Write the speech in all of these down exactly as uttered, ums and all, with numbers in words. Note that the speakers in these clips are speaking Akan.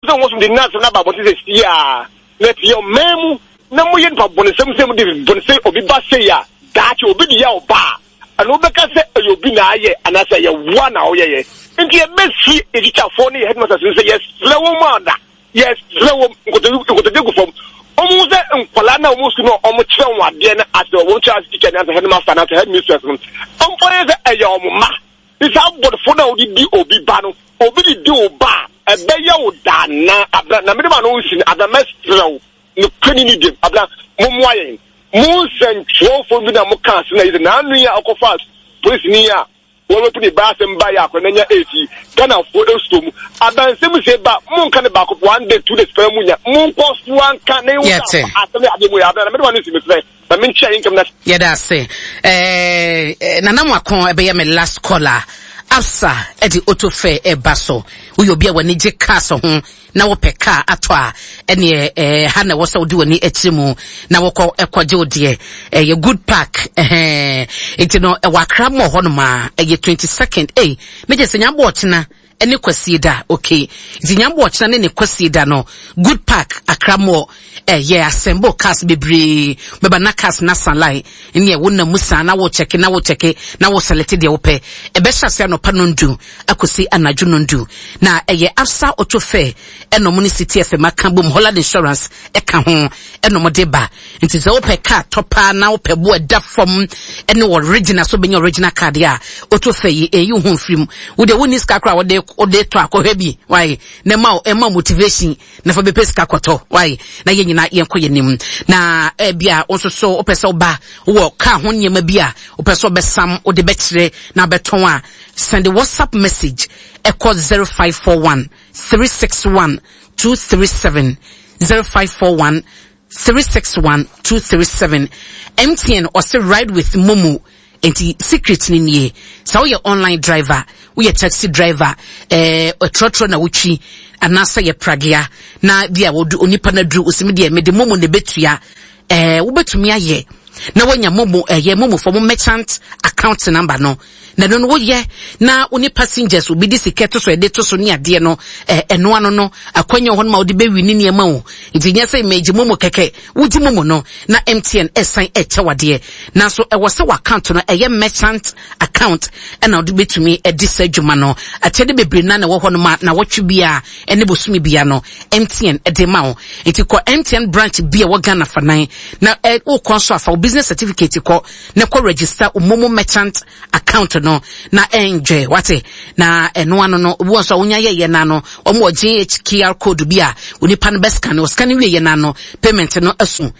Sɛ wɔn so de nnaasɛm no aba abɔnten sɛ siaa na ɛte yɛ ɔman mu na moyɛ nipa bɔnesɛm sɛ mode bɔne sɛ obi ba sei a, daakye obi de yɛ wo ba a, ɛno wobɛka sɛ ɛyɛ obi na ayɛ anaasɛ ɛyɛ woa na woyɛyɛ. Nti yɛbɛsi yɛ tikyafoɔ ne yɛ headmasters no sɛ yɛsrɛ wɔn ada, yɛsrɛ wɔn nkotodwe gu fam, wɔn hu sɛ nkwadaa na wɔn sukuu no a wɔn kyerɛ wɔn adeɛ no asɛ wɔn kyerɛ ase teacher ne asɛ headmaster na asɛ headmistress no, wɔn fa yɛ sɛ ɛyɛ wɔn mma. Ne saa bɔdefo no a wode di obi ba no, obi de di wo ba a, ɛbɛyɛ wo daa na abena na mede ma no nsi no abena mɛsrɛ wo nokorɛ ne nidiem abena mommoa yɛn. Mo nsɛntwerɛfoɔ bi na mo ka ase na yi sɛ n'ano yi a ɔkɔfa polisini a wɔrepu ne ba asɛm ba yɛ akora n'anya eight yi Ghanafoɔ ɛsuo mu abansɛm sie ba monka ne baako one day two days pɛrɛ mu nya monkɔ so anka na ewu Yɛte. asɛm yɛ adeɛ mu yɛ abena na mede ma no nsi mesrɛ na menkyia yi nkɛm na Yɛda ase. Eh, eh, Nana Mwako ɛbɛyɛ me last caller. Absa ɛde auto fair ɛba so. Woyɛ obi a w'ani gye cars ho na wopɛ car atɔ a, ɛneɛ eh, ha na ɛwɔ sɛ wode w'ani akyiri mu na wokɔ ɛkɔgye wo deɛ. Ɛyɛ Good Park. Ɛhɛn. Nti no ɛwɔ Accra Mall hɔnom a ɛyɛ twenty-second. Ei, ne gye sɛ nyambɔ ɔkyena ɛne Kwasie da. Okay. Nti nyambɔ ɔkyena ne ne Kwasie da no, Good Park, Accra Mall. Ɛyɛ assemble cars bebree bɛba na cars na san line ne ɛwo na mu saa na wo check na wo check na wo select deɛ wopɛ. Ɛbɛhyɛ ase anɔpa nondu akɔsi anadwo nondu na ɛyɛ Absa Auto Fair ɛna ɔmo ne City F M aka bom, Holland Insurance ɛka ho ɛna ɔmo de ba. Nti sɛ wopɛ car tɔ paa na wopɛ bo ɛda fam ɛne original so bɛnya original car deɛ a, Auto Fair yi ɛyi wo ho mfiri mu. Wo deɛ wonni sika koraa wode wode tɔ akɔhwɛ bi wae na ɛma ɛma motivation na fa bɛpɛ sika kɔtɔ wae na yɛn nyinaa yɛnkɔ yɛn anim. Na ebia wo nso so wopɛ sɛ woba wɔ car ho nneɛma bi a wopɛ sɛ wobɛsam wode bɛkyerɛ na wobɛtɔn a, send WhatsApp message ɛkɔ zero five four one three six one two three seven, zero five four one three six one two three seven. M T N ɔse ride with Momo. Enti secret ni nie. Sɛ woyɛ online driver, woyɛ taxi driver, eh, trɔtrɔ na wotwi anaasɛ yɛ pragea na bi a wodu onipa na duru osimi deɛ mede Momo na ebetua, eh, wobɛtumi ayɛ na woanya Momo, eh, yɛ Momo for mo merchant account number no. Na no no woyɛ na wo ne passengers obi de sika to so ɛde to so ne adeɛ no, eh, ɛno ano no akwanya hɔ no ma wode bɛwi ne nneɛma o. Nti nyɛ sɛ megye Momo kɛkɛ, wogye Momo no na M T N ɛsan ɛkyɛ wadeɛ. Nanso ɛwɔ sɛ w'account no ɛyɛ merchant account ɛna wode bɛtumi ɛde saa adwuma no. Akyɛde bebree na na ɛwɔ hɔ no ma na wɔtwe bia ɛne bosome bia no M T N ɛde ma wo. Nti kɔ M T N branch bi a ɛwɔ Ghana fanan na ɛ, wokɔ nso afa wo business certificate kɔ na kɔ register wo Momo merchant account no na enjoy wate. Na ɛno ano no obi wɔ nso a wonya yɛyɛ na no wɔn wɔ G H Q R code bi a onipa no bɛ scan, o scan wie yɛ na no payment no aso.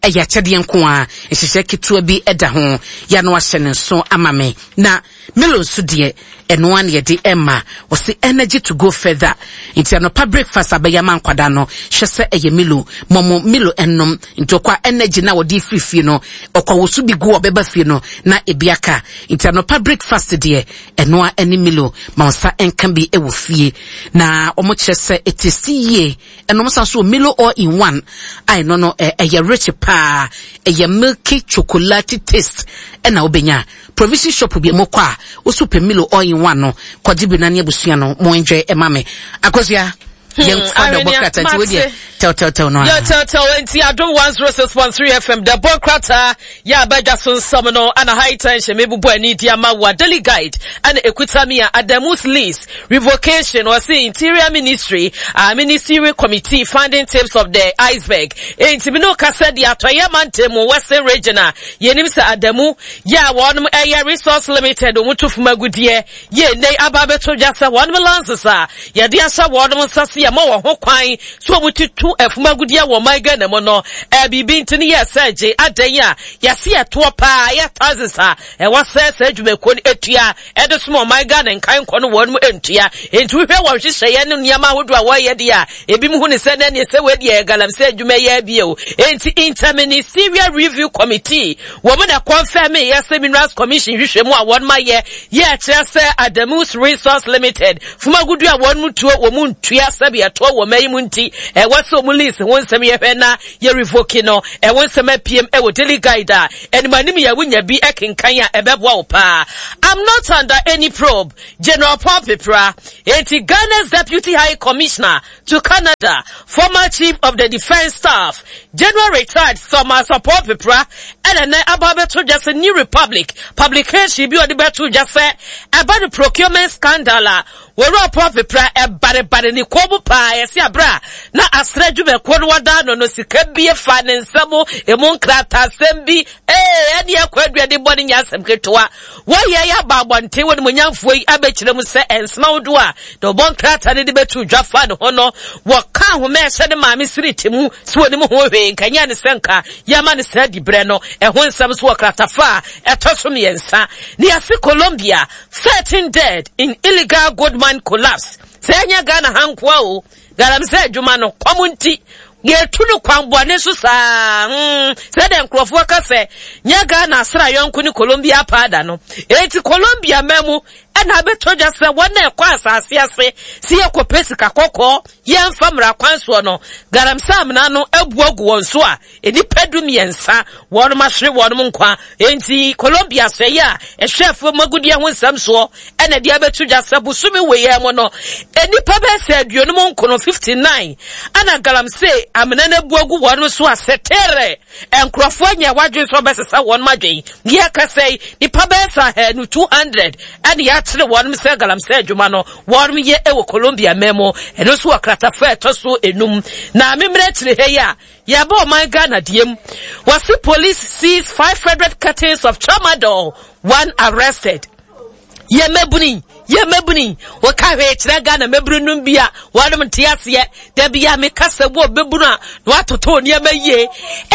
Ɛyɛ akyɛdeɛ nko a nhyehyɛ ketewa bi ɛda ho ya no ahyɛ ne nso ama me. Na Milo nso deɛ ɛno ano yɛde ɛma wɔsi energy to go further. Nti anɔpa breakfast abɛyɛ ama nkwadaa no hwɛ sɛ ɛyɛ Milo mɔmɔ Milo ɛnom. Nti ɔkɔ energy na wɔde firi fie no ɔkɔ wosu bi gu ɔbɛba fie no na ebi aka. Nti anɔpa breakfast deɛ ɛno a ɛne Milo ma nsa ɛnka bi ɛwɔ fie. Na wɔn kyerɛ sɛ ɛtesi yie. Ɛnom sa so Milo all in one a ɛno no ɛyɛ rich paa, ɛyɛ milky chocolate taste ɛna wobɛnya. Provision shop bi mu kɔ a woso pɛ Milo all in one no kɔgye bi na ne abusua no mo enjoy ɛma me. Akosua, yɛn fa dɔbɔ krata nti wo deɛ tɛw tɛw tɛw no. Yɛ tɛw tɛw nti Adom one zero six point three F M dɔbɔ krata yɛ abɛdwa so nsɛm no ana high tension me bubu ani di ama wa Daily Guide ana ekuta mi a Adamus lease revocation or see Interior Ministry, uh, Ministry Committee finding tips of the iceberg. Enti mi no kasa di atoye mantemu Western Region a yenim se Adamu ya won eye Resource Limited omutu fumagudie ye ne aba beto dwasa won lances a ye de asa won nsase ye ma wo ho kwan so omututu afumagudie wo man Ghana mu no e bibi ntini ye seje adan a ye se ye to pa ye thousands a e wo se se adwumako etua e de so man Ghana nkan kɔ no won mu entua enti wo hwe wo hwehye ye no niam ahodo a wo ye de a ebi mu hu ne se na ne se we de galam se adwuma ye bie o enti Interministerial Review Committee wo mu na confirm ye se Minerals Commission hwehwe mu a won ma ye ye kire se Adamus Resource Limited fumagudu a won mu tuo wo mu ntua se sɛbi ɛtoɔ wɔ mma yi mu nti ɛwɔ sɛ ɔmo lease ho nsɛm yɛhwɛ na yɛ revoke no. Ɛho nsɛm apiem ɛwɔ Daily Guide a ɛnim anim yɛ wonya bi ɛkenkan a ɛbɛboa wo paa. I'm not under any probe, General Paul Pepra. Enti Ghana's Deputy High Commissioner to Canada, former Chief of the Defence Staff, General Retired Thomas Paul Pepra, ɛna nɛ aba abɛto dwa sɛ New Republic publication bi ɔde bɛto dwa sɛ ɛba no procurement scandal a wɔwura Paul Pepra ɛbarebare ne kɔn mu paa. Yɛsi abere a na asrɛ adwumakuo no wɔda no no sika bi fa ne nsam emu nkrataasɛm bi ee ɛne ɛkɔ aduane bɔ ne nya asɛm ketewa wɔyɛ yɛ aba abɔnten wɔ ne mu nyamfoɔ yi abɛkyerɛ mu sɛ ɛnsɛm ahodoɔ a na ɔbɔ nkrataa no de bɛto dwa fa ne ho no wɔka ahoma ɛhyɛ ne maame siri ti mu so wɔ ne mu ho hwee nkanya ne sɛ nka yɛma ne sɛ di berɛ no ɛho nsɛm so wɔ kratafa a ɛtɔ so mmiɛnsa. Ne yɛse Colombia, thirteen dead in illegal gold mine collapse. Sɛ ɛnyɛ Ghana ha nkoa o, galamsey adwuma no kɔm nti yɛtu no kwan bɔne so saa. mm, sɛdeɛ nkurɔfoɔ ka sɛ nyɛ Ghana asra yɔnko ne Colombia paada no, enti Colombia ma mu ɛna abɛtɔ dwa sɛ wɔn a ɛkɔ asase ase si yɛkɔpɛ sika kɔkɔɔ yɛmfa mmara kwan soɔ no, galamsey amena no abu agu wɔn so a nnipa du mmiɛnsa wɔnom ahwere wɔnom nkwa. Enti Colombia sɛe a ɛhwɛ fam agudeɛ ho nsɛm soɔ ɛna de abɛto dwa sɛ bosome wei mu no nnipa bɛyɛ sɛ aduonum nkono fifty-nine ɛna galamsey amena no abu agu wɔnom so a sɛtere nkurɔfoɔ anya wadwen sɛ ɔbɛsesa wɔnom adwen. Yɛka sɛ nnipa bɛyɛ sɛ ahanu two hundred ɛna yɛakyere wɔnom sɛ galamsey adwuma no wɔnom yɛ ɛwɔ Colombia mɛ mu. Ɛno nso wɔ kratafa ɛtɔ so enum. Na memmerɛ akyire ha yi a yɛbɔ ɔman Ghana diem, wɔsi police seize five hundred cartons of tramadol, one arrested. Yɛ mɛbuni yɛ mɛbuni wɔka hwee kyerɛ Ghana mɛbunu num bi a wɔnom nte aseɛ. Dabi a meka sɛ wɔ mɛbunu a na watoto nneɛma yie,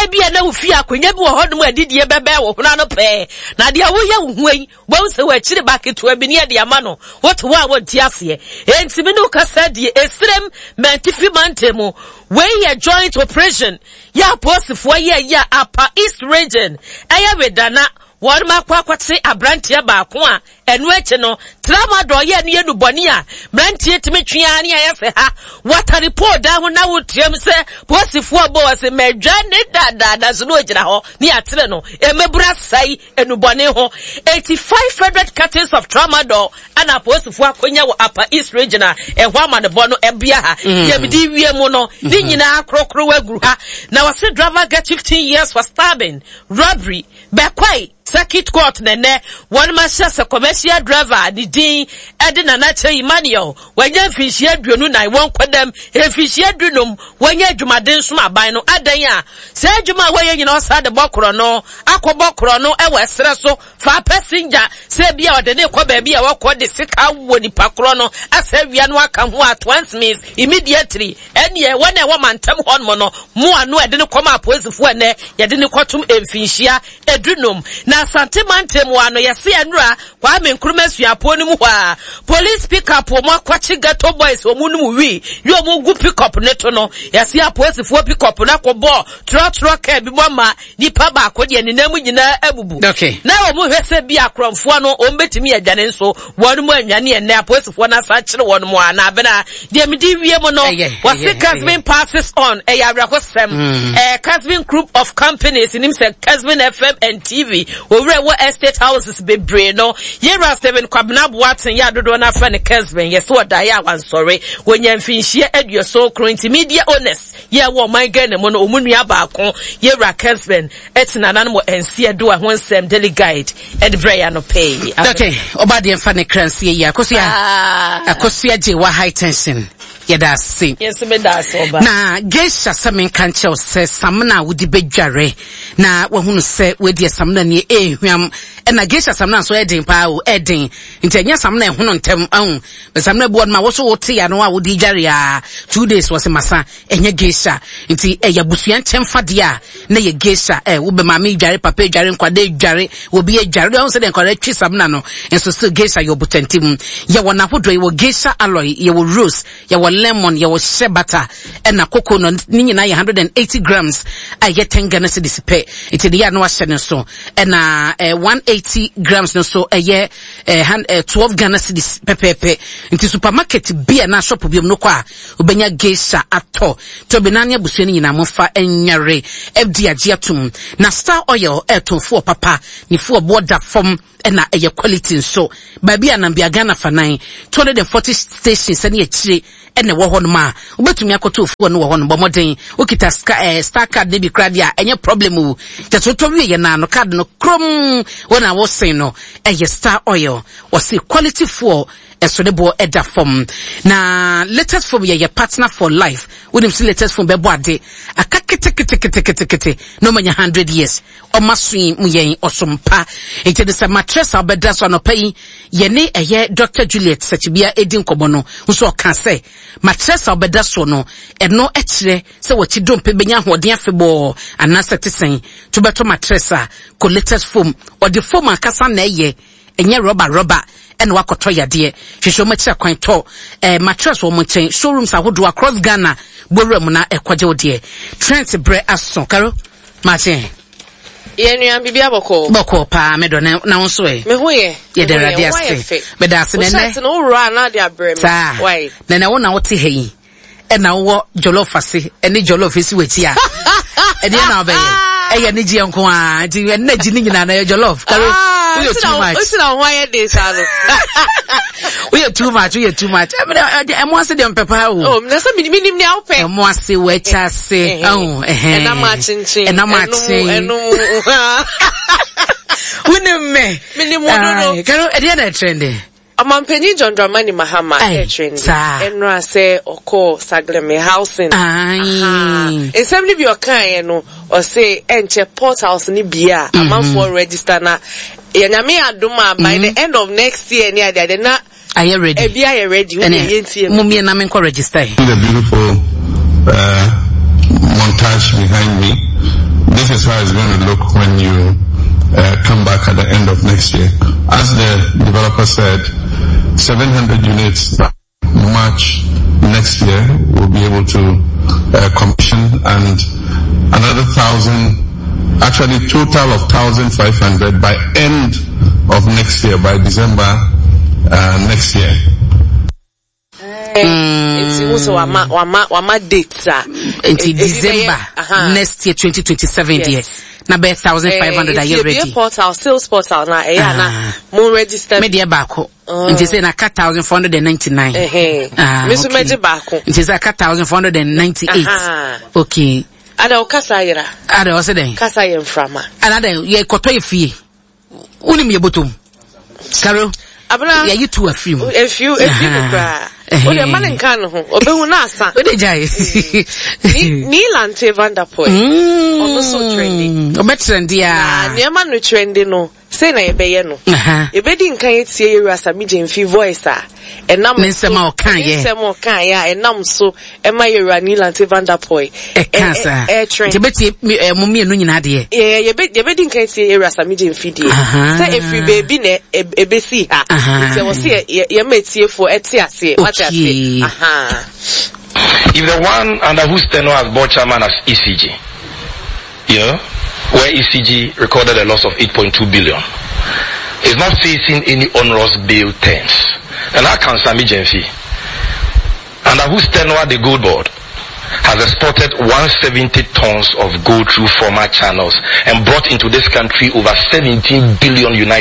ebi a na wofi akonnwa bi wɔ hɔnom a adidie bɛbɛn wɔ hono ano pɛɛ, na deɛ woyɛ wo ho yi wɔn sɛ wɔakyiri ba ketewa bi ne yɛde ama no wote hɔ a wɔnte aseɛ. Enti me ne wo kasa deɛ esirem mɛntifi mante mu. Wei yɛ joint operation yɛ apolisifoɔ yɛ yɛ Upper East Region ɛyɛ Wedana wɔn akɔ akɔte aberanteɛ baako a ɛno akyi no tramadol yɛ no yɛ nubɔne a mmeranteɛ tumi twea ne ayɛ sɛ ha watare pole dan ho na wotuam sɛ polisifoɔ bɔ wɔ sɛ mɛdwa ne dadaada so na ogyina hɔ ne yɛatere no ɛmɛbura sɛe enubɔne ho. Eighty five hundred cartons of tramadol ɛna apolisifoɔ akɔnya wɔ Upper East Region a ɛho amanebɔ no ɛbea ha. Yɛmdi wie mu no ne nyinaa korokoro aguru ha. Na wɔse driver get fifteen years for stabbing robbery. Bɛkwae circuit court nɛnɛ wɔn ma hyɛ sɛ commercial driver ne din ɛde Nana Kyɛ Emmanuel wɔanya mfinhyia aduonu nan wɔn kɔdam mfinhyia dunum wɔanya adwumaden som aban no adan a sɛ adwuma a wɔyɛ nyinaa ɔsa de bɔ korɔ no akɔbɔ korɔ no ɛwɔ ɛserɛ so fa passenger sɛ bi a ɔde ne kɔ baabi a wɔkɔ de sika wɔ nipa korɔ no asɛ wia no aka ho at once means immediately ɛneɛ wɔn a ɛwɔ mantam hɔ nom no mo ano ɛde ne kɔma apolisifoɔ ɛnɛ yɛde ne kɔtom mfinhyia edunum. Na Asante mantam wa no yɛse ɛnora Kwame Nkrumah suapoɔ no mu hɔ a police pickup wɔn akɔkye ghetto boys wɔn no mu wi yɛ wɔn gu pickup ne to no yɛse apolisifoɔ pickup no akɔbɔ trɔtrɔ kaa bi mu ama nipa baako deɛ ne nam nyinaa abubu. Okay. Na wɔn hwɛ sɛ bi akorɔmfoɔ no wɔn bɛtumi adwane nso wɔn mu anwane ɛnɛ apolisifoɔ no asa akyere wɔn mu a na abena deɛ mede wie mu no wɔse Casbin passes on ɛyɛ awerɛhosɛm. Ɛɛ Casbin Group of Companies nim sɛ Casbin F M and T V owura wɔ estate houses bebree no yɛwura Stephen Kwabena Boateng yɛ adodoɔ no afrɛ no Casbin yɛsɛ ɔdaeɛ a wansɔre wɔnya mfinhyia aduoson kron nti media owners yɛ wɔ ɔman Ghana mu no ɔmu nua baako yɛwura Casbin ɛtena nanom wɔ nsia do a ho nsɛm Daily Guide ɛde brɛ yɛ anɔpɛ. Okay, ɔba deɛ mfa ne kra nsie yi akosua akosua gye wa high tension yɛda ase. Yɛsɛ meda ase ɔba. Na geisha sɛ menka nkyɛw sɛ samina a wode bɛdware na wahunu sɛ wadi samina ni ehwam ɛna geisha samina nso ɛden paa o ɛden nti ɛnyɛ samina ɛhono ntɛm ahun samina bu ɔno ma woso wote ya no a wode dware a two days wɔ se masa ɛnyɛ geisha nti ɛyɛ abusua nkyɛn fadeɛ a na yɛ geisha ɛ wo bɛ maame dware papa dware nkwade dware obi dware de ɔn sɛ de nkwade twi samina no nso so geisha yɛ obutantim yɛ wɔ n'ahodoɔ yɛ wɔ geisha alloy yɛ wɔ rose yɛ wɔ Lemon, yɛwɔ shea butter ɛna coconut, ne nyinaa yɛ one hundred eighty grams a ɛyɛ ten Ghana cedis pɛ. Nti de yɛ a na wahyɛ ne so, ɛna eh, one hundred eighty grams no so ɛyɛ eh, eh, twelve Ghana cedis pɛpɛɛpɛ. Nti supermarket bi a na shop bi mu no kɔ a, wobɛnya Geisha atɔ tɔbi na ne abusua no nyinaa mofa nyare. F D agye atom na Star Oil ɛɛtɔn papa ne fuel boɔ da fam, ɛna ɛyɛ quality nso. Baabi a nambia Ghana fanan two hundred and forty stations ɛne akyire ɛna ɛwɔ hɔnom a wobɛtumi akɔtɔ fuel no wɔ hɔnom. Bɔ mmɔden, wokita ska, eh, Star card ne bi koraa deɛ a, ɛnyɛ problem o. Kyɛ sɛ wotɔ wie yɛ naa no, card no krom wɔn a wɔsen no ɛyɛ Star Oil. Wɔse quality fuel ɛso ne boɔ ɛda fam. Na Latest Phone yɛ yɛ partner for life. Wonim sɛ Latest Phone bɛbɔ ade aka keteketeketekete na ɔmanya hundred years. Ɔma so yi mu yɛn ɔsompa. Nti de sɛ mattress a wobɛda so anɔpa yi, yɛne ɛyɛ Doctor Juliet Sakyibia ɛdi nkɔmmɔ no nso, ɔka sɛ mattress a wobɛda so no, ɛno ɛkyerɛ sɛ wɔkyi dompe bɛnya ahoɔden afebɔɔ anaasɛ te sɛn to bɛtɔ mattress a, kɔ Latest Foam. Ɔde foam ankasa na ɛyɛ, ɛnyɛ rɔba rɔba ɛna wakɔtɔ yadeɛ. Hwehwɛ wɔn akyi akwan tɔ ɛɛ mattress wɔn nkyɛn. Showrooms ahodoɔ across Ghana, bowura mu na ɛkɔgye wo deɛ. Trends brɛ aso karo maakye. Yɛn nua, biribi abɔkɔ. Bɔkɔ paa, mɛdɔ na na wo nso ɛ? Me ho yɛ. Yɛda Awurade ase, mɛda ase. Nɛnɛ shirt no wowura a na de abrɛ me. Saa. Why? Nɛnɛ wo na wote ha yi, ɛna wowɔ jollof ase ɛne jollof esi w'akyi a, ɛdeɛ na wobɛyɛ ɛyɛ ne gyeɛ nko a. Nti ɛnna gyi ne nyinaa na ɛyɛ jollof. Karo, woyɛ too much. Osi na ho ayɛ de saa no. Woyɛ too much, woyɛ too much. Ɛmo ase deɛ, mpɛ paa o. Oh, na sɛ minim nea wopɛ. Ɛmo ase, wɔakyi ase, ɛho ɛhɛn. Ɛnam akyenkyen. Ɛnam akyen. Ɛnum. Wonim me. Minim wo dodo. Karo, ɛdeɛ na ɛtrend? Ɔmampanyin John Dramani Mahama Aye, ɛtrend. Saa. Ɛnora sɛ ɔkɔɔ Saglemi Housing. Aye. Nsɛm no bi ɔkaeɛ no, ɔse ɛnkyɛ portals no bi a amanfoɔ register na yɛnyame adom a, by the end of next year ne adeade na ayɛ ready. Ebi ayɛ ready. Wo ɛnɛ yɛ yɛntie mo mmiena menkɔ register yi. The beautiful uh, montage behind me. This is how it's going to look when you uh, come back at the end of next year. As the developer said, seven hundred units by March next year we'll be able to uh, commission, and another thousand, actually total of one thousand five hundred by end of next year, by December uh, next year. Nti wo sɛ wama wama wama date a. Nti ebi bɛyɛ- December aha. next year twenty twenty-seven deɛ, Yes. na bɛyɛ thousand five hundred ayɛ Nti ready. ebie portal, sales portal na ɛyɛ a na Ah. mo register. Me deɛ baako, nti sɛ na aka thousand four hundred and ninety-nine. Ɛhɛn. Ah, Me nso okay. mɛgye baako. Nti sɛ aka thousand four hundred and ninety-eight. Aha. Okay. Ada wo kasa yera. Ada ɔsɛ dɛn? Kasa yɛ mframa. Ana dɛn, yɛkɔtɔ yɛ fie, wonim yɛ bɔtɔm karo. Abena. Yɛyi tu afiri mu. Efiu efi mu Aha. koraa. Ɛhɛn. O de ma ne nka ne ho. Obehu na asa. Wode gyae. Ni Nii Lante Vanderpuye. Ɔno nso trendy. Ɔbɛtrend Na a. nneɛma no trendy no, sei na yɛbɛyɛ no. Aha. Yɛbɛdi nkan etie yɛwura Sammy Gyamfi voice a ɛnam Ne nsɛm a ɔkaeɛ. Ne nsɛm a ɔkaeɛ a ɛnam so ɛma yɛwura Nii Lante Vanderpuye ɛka saa. Ɛ trend. Nti bɛtie mi- ɛ, mo mmienu nyinaa deɛ. Yɛ yɛbɛ yɛbɛdi nkan tie yɛwura Sammy Gyamfi deɛ. Aha. Sɛ efiri beebi na ɛ- ebesi ha. Aha. Nti ɛwɔ sɛ yɛ yɛ yɛma etiefoɔ ɛte aseɛ. Wate Okay. aseɛ. Aha. If the one under whose tenure as board chairman as E C G, you know, where E C G recorded a loss of eight point two billion, is not facing any onerous bail terms, and how can Sammy Gyamfi, under whose tenure the gold board has exported one hundred seventy tons of gold through former channels and brought into this country over seventeen billion United